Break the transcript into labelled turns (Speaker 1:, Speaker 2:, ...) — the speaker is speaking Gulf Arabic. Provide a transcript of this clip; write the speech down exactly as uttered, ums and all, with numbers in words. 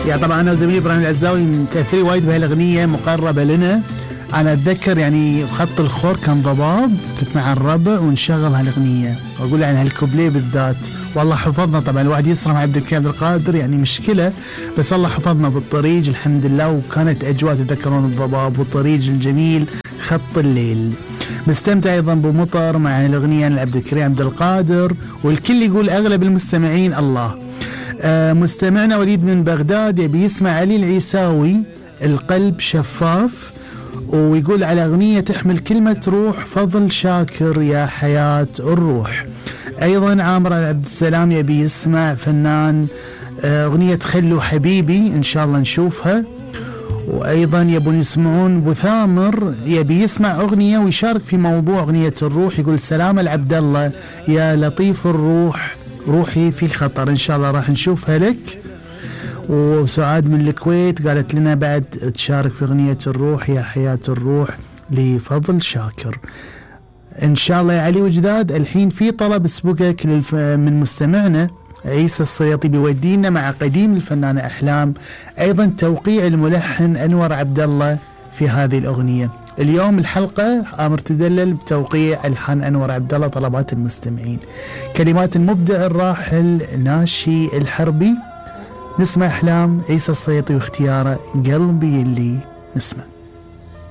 Speaker 1: يا طبعا انا وزميلي ابراهيم العزاوي متاثرين وايد بهالاغنيه، مقربه لنا. انا اتذكر يعني خط الخور كان ضباب، كنت مع الربع ونشغل هالاغنيه واقول عن هالكوبليه بالذات، والله حفظنا. طبعا الواحد يسرى مع عبد الكريم عبد القادر يعني مشكله، بس الله حفظنا بالطريق الحمد لله. وكانت اجواء تذكرون الضباب والطريق الجميل خط الليل. مستمتع ايضا بمطر مع الاغنيه لعبد الكريم عبد القادر، والكل يقول اغلب المستمعين الله. آه مستمعنا وليد من بغداد يبي يسمع علي العيساوي القلب شفاف، ويقول على أغنية تحمل كلمة روح فضل شاكر يا حياة الروح. أيضا عامر عبد السلام يبي يسمع فنان أغنية خلو حبيبي، إن شاء الله نشوفها. وأيضا يبون يسمعون بثامر يبي يسمع أغنية ويشارك في موضوع أغنية الروح، يقول سلام العبد الله يا لطيف الروح روحي في خطر. إن شاء الله راح نشوفها لك. وسعاد من الكويت قالت لنا بعد تشارك في أغنية الروح يا حياة الروح لفضل شاكر. إن شاء الله يا علي وجداد. الحين في طلب سبقك من مستمعنا عيسى السيطي بيودينا مع قديم الفنانة أحلام، أيضا توقيع الملحن أنور عبد الله في هذه الأغنية. اليوم الحلقة آمر تدلل بتوقيع ألحان أنور عبد الله، طلبات المستمعين. كلمات المبدع الراحل ناشي الحربي. نسمع أحلام عيسى السيطي واختياره قلبي اللي نسمع.